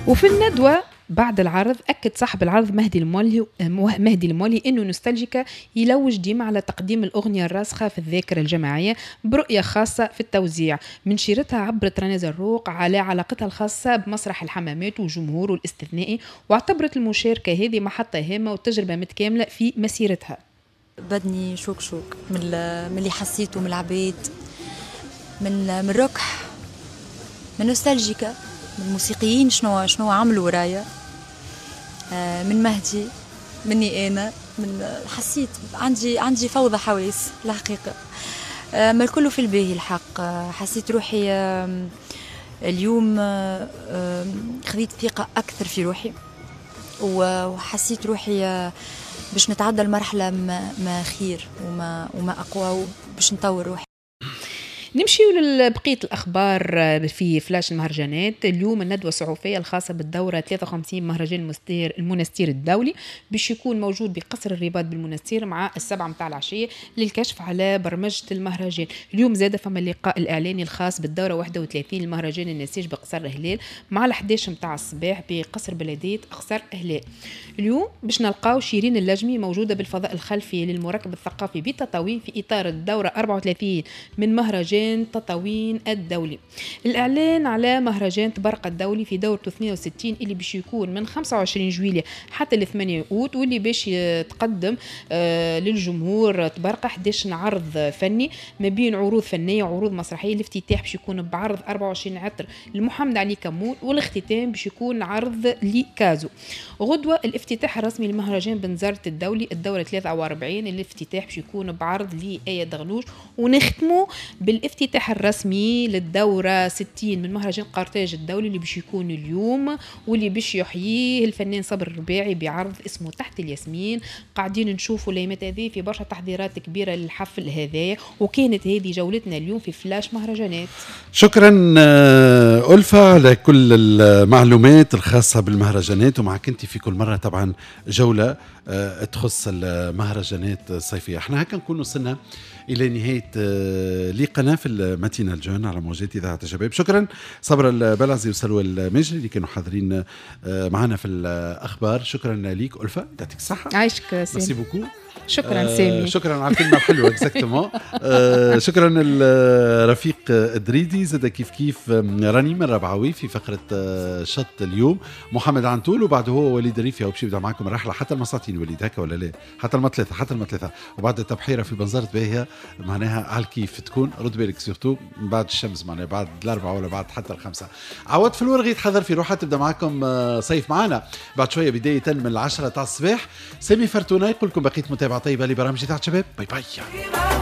وفي الندوة بعد العرض أكد صاحب العرض مهدي المولهي أنه نوستالجيكا يلوج ديما على تقديم الأغنية الراسخة في الذاكرة الجماعية برؤية خاصة في التوزيع. من شيرتها عبرت رنا زروق على علاقتها الخاصة بمسرح الحمامات وجمهوره الاستثنائي، واعتبرت المشاركة هذه محطة هامة وتجربة متكاملة في مسيرتها. بدني شوك شوك من اللي حسيته من العباد، من ركح، من نوستالجيكا، من الموسيقيين شنو عملوا ورايا، من مهدي، مني انا، من حسيت عندي فوضى حواس الحقيقه، ما الكل في الباهي الحق. حسيت روحي اليوم خذيت ثقة اكثر في روحي، وحسيت روحي باش نتعدى المرحلة ما خير وما اقوى وباش نطور روحي. نمشي لبقية الأخبار في فلاش المهرجانات. اليوم الندوة الصحفية الخاصة بالدورة 53 مهرجان المنستير الدولي باش يكون موجود بقصر الرباط بالمنستير مع 7 متاع العشية للكشف على برمجة المهرجان. اليوم زاد فما اللقاء الإعلاني الخاص بالدورة 31 المهرجان النسيج بقصر هلال مع ال11 متاع الصباح بقصر بلدية قصر هلال. اليوم باش نلقاو شيرين اللجمي موجودة بالفضاء الخلفي للمركب الثقافي بتطاوين في إطار الدورة 34 من مهرجان تطاوين الدولي. الإعلان على مهرجان طبرقة الدولي في دورته 62 اللي باش يكون من 25 جويلية حتى ل 8 أوت، واللي باش يتقدم للجمهور طبرقة 11 عرض فني ما بين عروض فنية وعروض مسرحية. الافتتاح باش يكون بعرض 24 عطر لمحمد علي كمون، والاختتام باش يكون عرض لكازو. غدوة الافتتاح الرسمي لمهرجان بنزرت الدولي الدورة 43، الافتتاح باش يكون بعرض لآية دغنوج، ونختموا بالافتتاح الرسمي للدورة 60 من مهرجان قرطاج الدولي اللي باش يكون اليوم، واللي باش يحييه الفنان صبر الرباعي بعرض اسمه تحت الياسمين. قاعدين نشوفوا الايامات هذه في برشا تحضيرات كبيرة للحفل هذا. وكانت هذه جولتنا اليوم في فلاش مهرجانات. شكرا ألفة على كل المعلومات الخاصة بالمهرجانات، ومعك انت في كل مرة طبعا جولة تخص المهرجانات الصيفية. احنا هكا نكون وصلنا إلى نهاية لقاءنا في ال matinale jeune على موجات إذاعة الشباب. شكرا صبر البلعزي وسلوى الماجري اللي كانوا حاضرين معنا في الأخبار. شكرا ليك ألفة، يعطيك الصحة. عايشك. ميرسي beaucoup. شكرا سامي. شكرا على الكلمة الحلوه، exactement. شكرا الرفيق الدريدي زاد، كيف كيف رنيم الربعوي في فقره شط اليوم، محمد عنتول، وبعده هو وليد الريفي باش يبدا معكم الرحلة حتى المساطين. وليد هكا ولا لا؟ حتى المثلاثه، حتى المثلاثه، وبعد التبحيره في بنزرت باهيه معناها على الكيف تكون. رد بالك surtout بعد الشمس، معناها بعد 4 ولا بعد حتى 5. عوض في الورغي تحضر في روحها تبدا معكم صيف معنا بعد شوية بداية من 10 تاع الصباح. سامي فرتونه يقول لكم بقيت متابعه طيبة لبرامج إذاعة شباب. bye bye.